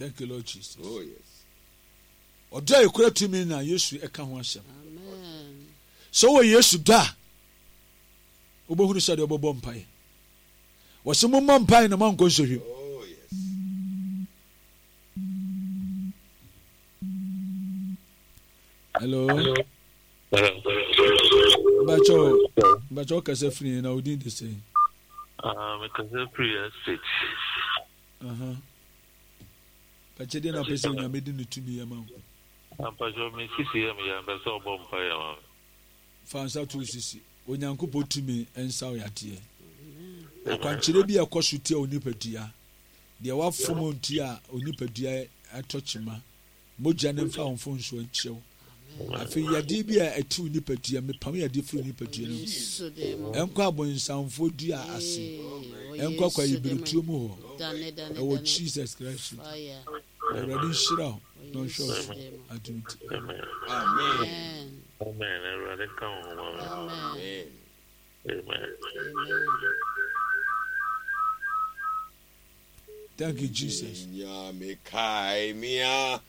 Thank you, Lord Jesus. Oh, yes. Ɔdɔ a ekura tumi na Yesu ɛka ho asɛm. Sɛ wɔ Yesu dɔ a, wobɛhunu sɛ deɛ wobɛbɔ mpaeɛ. Wɔsɛ mommɔ mpaeɛ na moankɔ nsɔhwɛ mu. Oh, yes. Hello. Mbakyɛ mbakyɛ ɔkasa firi na odin de sɛn? Ah, mekasa firi estate. Aha. Mpakyɛ deɛ na pɛ sɛ onyame de ne tumi yɛ ma wo. Mpakyɛ me sisi yɛ me ya mpɛ sɛ ɔbɔ mpa yɛ ma me. Fa nsa to sisi. Onyankopɔn tumi nsa wo yadeɛ. Akwankyerɛ bi a ɛkɔ so tia onipadua. Deɛ wafom ntia onipadua atɔ kyema. Mogya no mfa wo mfomsoɔ nkyɛ wo. Afei yadeɛ bi a ɛte wo nipadua, mepam yadeɛ firi wo nipadua no mu. Ɛnkɔ abonsamfoɔ dua ase. Ɛnkɔ kwayibiretuo mu hɔ. Ɛwɔ Jesus Christ. Awurade nhyira wo na ɔnhwɛ wo so. Adom ti. Amen. Amen. Awurade nka wo ho ma me. Amen. Amen. Thank you, Jesus. Nyame kae me a.